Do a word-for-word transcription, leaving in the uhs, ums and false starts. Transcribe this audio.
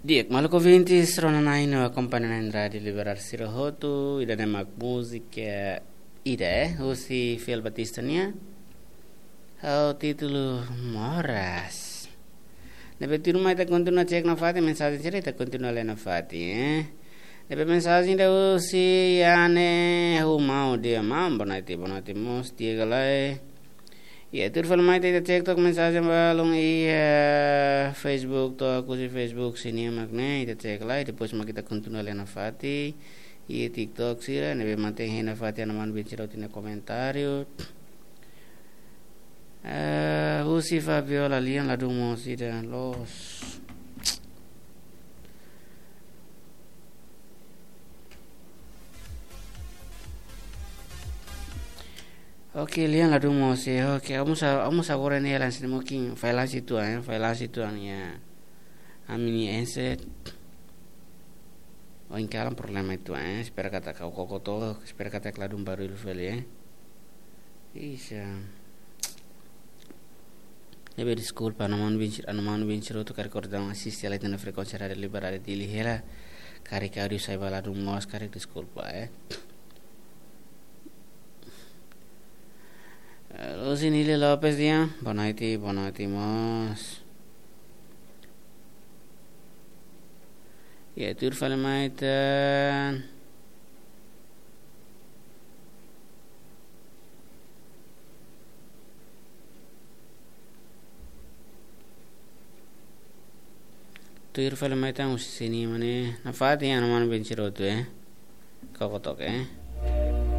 Di'ak, maluk ouvintes, rona-na'in no akompaña-na'in Rádiu Liberal sira hotu, ida-ne'e mak múzika ida, eh, husi Fiel Batista nian. Ho títulu Moras. Ne'ebé tuirmai ita kontinua cek nafatin mensajen sira, ita kontinua lee nafatin, eh. Ne'ebé mensajen ida husi Yane Humau, di'ak maun, boa noite, boa noite mós, di'ak ka lae. Iha, tuir fali mai ita cek took mensajen balun iha Facebook, to'o husi Facebook sira-ne'e mak ne'e, ita cek lai, depois mak ita kontinua lee nafatin. Iha TikTok sira, ne'ebé mantén hein nafatin, ha'u-nia manu-bin sira hotu-nia komentáriu. Eh, husi Fabiola, lian ladún moos ida, loos. Oke, lian ladún moos, eh, oke, ha'u mós, ha'u mós agora ne'e lansi mungkin, fai lansi uitoan, eh, fai lansi uitoan, ya. Ami-nia handset. Ohin kalan problema uitoan, eh, espera katak ha'u koko took, espera katak ladún barullu fali, eh. Isa. Ne'ebé deskulpa, ha'u-nia manu-bin sira, ha'u-nia manu-bin sira hotu karik kordaun asiste lai iha frekuénsia Rádiu Liberal Dili hela. Karik áudiu sai ba ladún moos, karik deskulpa, eh. Eh, Lucinile Lopes, di'ak, boa noite, boa noite mós. Iha, tuir fali mai ita. Tuir fali mai ita husi sira-ne'e mak ne'e. Nafatin, ha'u-nia manu-bin sira hotu, eh. Koko took, eh.